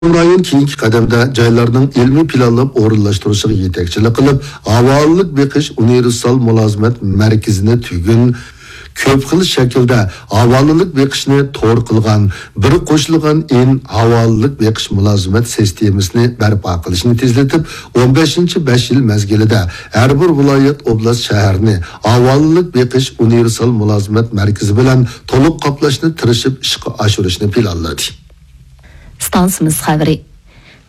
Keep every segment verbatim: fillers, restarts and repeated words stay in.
رايون كېيىنكى قەدەمدە جايلارنىڭ ئىلمىي پىلانلاپ ئورۇنلاشتۇرۇشىغا يېتەكچىلىك قىلىپ، ھاۋالىلىك بېقىش ئۇنىۋېرسال مۇلازىمەت مەركىزىنى تۈگۈن كۆپ خىل شەكىلدە ھاۋالىلىك بېقىشنى تور قىلغان بىر قوشۇلغان ئىن ھاۋالىلىك بېقىش مۇلازىمەت سىستېمىسىنى بەرپا قىلىشنى تېزلىتىپ، ئون بەشىنچى بەش يىل مەزگىلىدە ھەر بىر ۋىلايەت، ئوبلاست، شەھەرنى ھاۋالىلىك بېقىش ئۇنىۋېرسال مۇلازىمەت مەركىزى بىلەن تولۇق قاپلاشنى تىرىشىپ ئىشقا ئاشۇرۇشنى پىلانلىدى. ئىستانسىمىز خەۋىرى.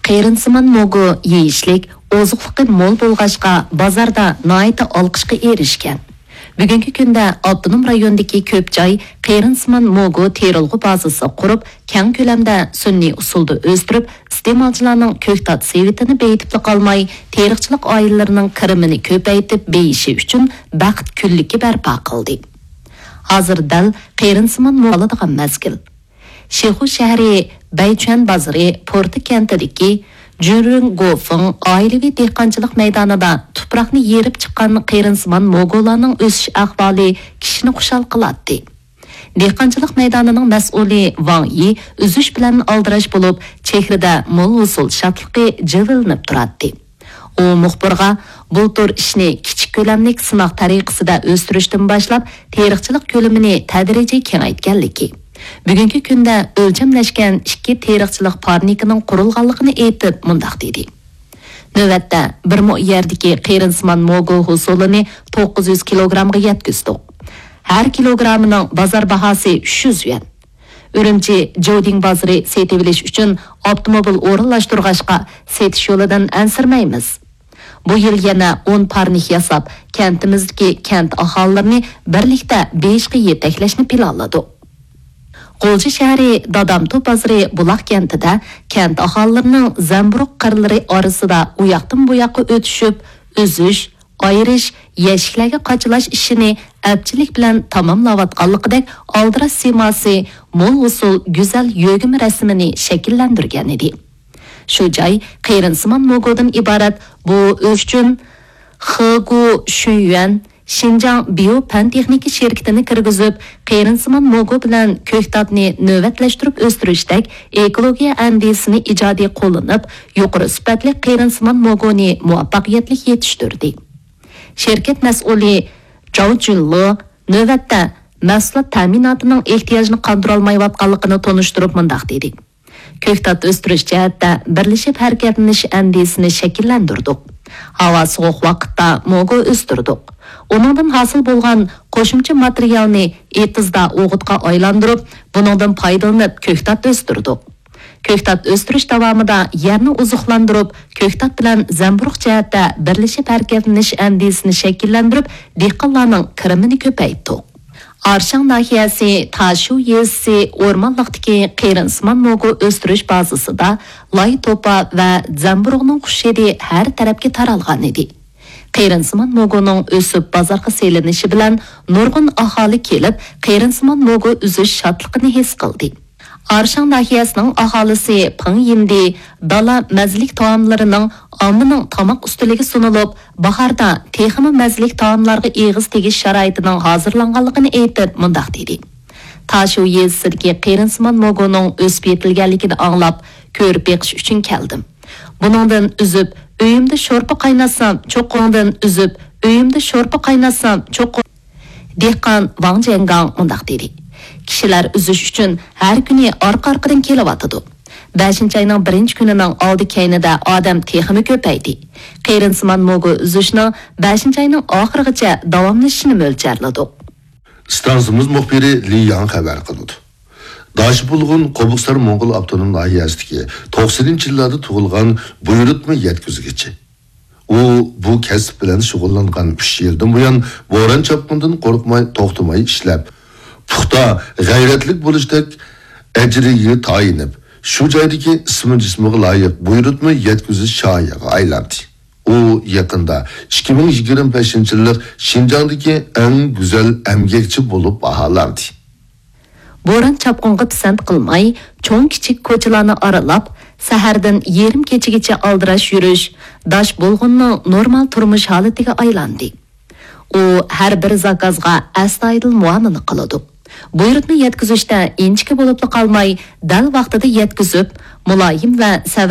قېرىندىسىمان موگو يېيىشلىك، ئوزۇقلۇقى مول بولغاچقا، بازاردا ناھايىتى ئالقىشقا ئېرىشكەن. بۈگۈنكى كۈندە ئاپتونوم رايوندىكى كۆپ جاي قېرىندىسىمان موگو تېرىلغۇ بازىسى قۇرۇپ، كەڭ كۆلەمدە سۈنئىي ئۇسۇلدا ئۆستۈرۈپ، ئىستېمالچىلارنىڭ كۆكتات سېۋىتىنى بېيىتىپلا قالماي، تېرىقچىلىق ئائىلىلىرىنىڭ كىرىمىنى كۆپەيتىپ بېيىشى ئۈچۈن بەخت كۈنلۈكى بەرپا قىلدى. ھازىر دەل قېرىندىسىمان موگو ئالىدىغان مەزگىل. شىخۇ شەھىرى بەيچۈەن بازىرى پورتا كەنتىدىكى جۈنرىڭ گوفېڭ ئائىلىۋى دېھقانچىلىق مەيدانىدا تۇپراقنى يېرىپ چىققان قېرىندىسىمان موگولارنىڭ ئۆسۈش ئەھۋالى كىشىنى خۇشال قىلاتتى. دېھقانچىلىق مەيدانىنىڭ مەسئۇلى ۋاڭ يى ئۈزۈش بىلەن ئالدىراش بولۇپ، چېھرىدە مول ھوسۇل شادلىقى جىلۋىلىنىپ تۇراتتى. ئۇ مۇخبىرغا، بۇلتۇر ئىشنى كىچىك كۆلەملىك سىناق تەرىقىسىدە ئۆستۈرۈشتىن باشلاپ، تېرىقچىلىق كۆلىمىنى تەدرىجىي كېڭەيتكەنلىكى، بۈگۈنكى كۈندە ئۆلچەملەشكەن ئىككى تېرىقچىلىق پارنىكىنىڭ قۇرۇلغانلىقىنى ئېيتىپ، مۇنداق دېدى: نۆۋەتتە بىر مو يەردىكى قېرىندىسىمان موگو ھوسۇلىنى توققۇز يۈز كىلوگرامغا يەتكۈزدۇق. ھەر كىلوگرامىنىڭ بازار باھاسى ئۈچ يۈز يۈەن. ئۈرۈمچى جودىڭ بازىرى سېتىۋېلىش ئۈچۈن ئاپتوموبىل ئورۇنلاشتۇرغاچقا، سېتىش يولىدىن ئەنسىرىمەيمىز. بۇ يىل يەنە ئون پارنىك ياساپ، كەنتىمىزدىكى كەنت ئاھالىلىرىنى بىرلىكتە بېيىشقا يېتەكلەشنى پىلانلىدۇق. غۇلجا شەھىرى دادامتۇ بازىرى بۇلاق كەنتىدە كەنت ئاھالىلىرىنىڭ زەمبۇرۇغ قىرلىرى ئارىسىدا ئۇياقتىن بۇياققا ئۆتۈشۈپ، ئۈزۈش، ئايرىش، يەشىكلەرگە قاچىلاش ئىشىنى ئەپچىللىك بىلەن تاماملاۋاتقانلىقىدەك ئالدىراش سىيماسى مول ھوسۇل گۈزەل يۆگىمە رەسىمىنى شەكىللەندۈرگەنىدى. شۇ جاي قېرىندىسىمان موگودىن ئىبارەت بۇ ئۆسۈش ئۈچۈن خېگۇ شۈنيۈەن شىنجاڭ بىيو پەن تېخنىكا شىركىتىنى كىرگۈزۈپ، قېرىندىسىمان موگو بىلەن كۆكتاتنى نۆۋەتلەشتۈرۈپ ئۆستۈرۈشتەك ئېكولوگىيە ئەندىزىسىنى ئىجادىي قوللىنىپ، يۇقىرى سۈپەتلىك قېرىندىسىمان موگونى مۇۋەپپەقىيەتلىك يېتىشتۈردى. شىركەت مەسئۇلى جاۋ جۈنلو نۆۋەتتە مەھسۇلات تەمىناتىنىڭ ئېھتىياجىنى قاندۇرالمايۋاتقانلىقىنى تونۇشتۇرۇپ مۇنداق دېدى: كۆكتات ئۆستۈرۈش جەھەتتە بىرلىشىپ ھەرىكەتلىنىش ئەندىزىسىنى شەكىللەندۈردۇق. ھاۋا سوغۇق ۋاقىتتا موگو ئۆستۈردۇق. ئۇنىڭدىن ھاسىل بولغان قوشۇمچە ماتېرىيالنى ئېتىزدا ئوغۇتقا ئايلاندۇرۇپ، بۇنىڭدىن پايدىلىنىپ كۆكتات ئۆستۈردۇق. كۆكتات ئۆستۈرۈش داۋامىدا يەرنى ئوزۇقلاندۇرۇپ، كۆكتات بىلەن زەمبۇرۇغ جەھەتتە بىرلىشىپ ھەرىكەتلىنىش ئەندىزىسىنى شەكىللەندۈرۈپ، دېھقانلارنىڭ كىرىمىنى كۆپەيتتۇق. ئارشاڭ ناھىيەسى تاشۇ يېزىسى ئورمانلىقتىكى قېرىندىسىمان موگو ئۆستۈرۈش بازىسىدا لاي توپا ۋە زەمبۇرۇغنىڭ خۇش ھىدى ھەر تەرەپكە تارالغانىدى. قېرىندىسىمان موگونىڭ ئۆسۈپ بازارغا سېلىنىشى بىلەن نۇرغۇن ئاھالى كېلىپ، قېرىندىسىمان موگو ئۈزۈش شادلىقىنى ھېس قىلدى. ئارشاڭ ناھىيەسىنىڭ ئاھالىسى پېڭ يىندى دالا مەززىلىك تائاملىرىنىڭ ئاممىنىڭ تاماق ئۈستىلىگە سۇنۇلۇپ، باھاردا تېخىمۇ مەززىلىك تائاملارغا ئېغىز تېگىش شارائىتىنىڭ ھازىرلانغانلىقىنى ئېيتىپ، مۇنداق دېدى: تاشۇ يېزىسىدىكى قېرىندىسىمان موگونىڭ ئۆسۈپ يېتىلگەنلىكىنى ئاڭلاپ، كۆرۈپ بېقىش ئۈچۈن كەلدىم. بۇنىڭدىن ئۈزۈپ، ئۆيۈمدە شورپا قايناتسام، چوقۇمدىن ئۈزۈپ، ئۆيۈمدە شورپا قايناتسام، چوقۇم. دېھقان ۋاڭ جيەنگاڭ مۇنداق دېدى: كىشىلەر ئۈزۈش ئۈچۈن ھەر كۈنى ئارقا-ئارقىدىن كېلىۋاتىدۇ. بەشىنچى ئاينىڭ بىرىنچى كۈنىنىڭ ئالدى كەينىدە ئادەم تېخىمۇ كۆپەيدى. قېرىندىسىمان موگو ئۈزۈشنىڭ بەشىنچى ئاينىڭ ئاخىرىغىچە داۋاملىشىشىنى مۆلچەرلىدۇق. ئىستانسىمىز مۇخبىرى لى ياڭ خەۋەر قىلىدۇ. داشى بۇلغۇن قوبۇقسار موڭغۇل ئاپتونوم ناھىيەسىدىكى توقسىنىنچى يىللاردا تۇغۇلغان بۇيرۇتما يەتكۈزگۈچى. ئۇ بۇ كەسىپ بىلەن شۇغۇللانغان ئۈچ يىلدىن بۇيان، بوران-چاپقۇندىن قورقماي، توختىماي ئىشلەپ، پۇختا، غەيرەتلىك بولۇشتەك ئەجرىگە تايىنىپ، شۇ جايدىكى ئىسمى-جىسمىغا لايىق بۇيرۇتما يەتكۈزۈش شاھىغا ئايلاندى. ئۇ يېقىندا ئىككى مىڭ يىگىرمە بەشىنچى يىللىق شىنجاڭدىكى ئەڭ گۈزەل ئەمگەكچى بولۇپ باھالاندى. بوران-چاپقۇنغا پىسەنت قىلماي، چوڭ-كىچىك كوچىلارنى ئارىلاپ، سەھەردىن يېرىم كېچىگىچە ئالدىراش يۈرۈش داش بۇلغۇننىڭ نورمال تۇرمۇش ھالىتىگە ئايلاندى. ئۇ ھەر بىر زاكازغا ئەستايىدىل مۇئامىلە قىلىدۇ. بۇيرۇقنى يەتكۈزۈشتە ئىنچىكە بولۇپلا قالماي، دەل ۋاقتىدا يەتكۈزۈپ، مۇلايىم ۋە سەۋر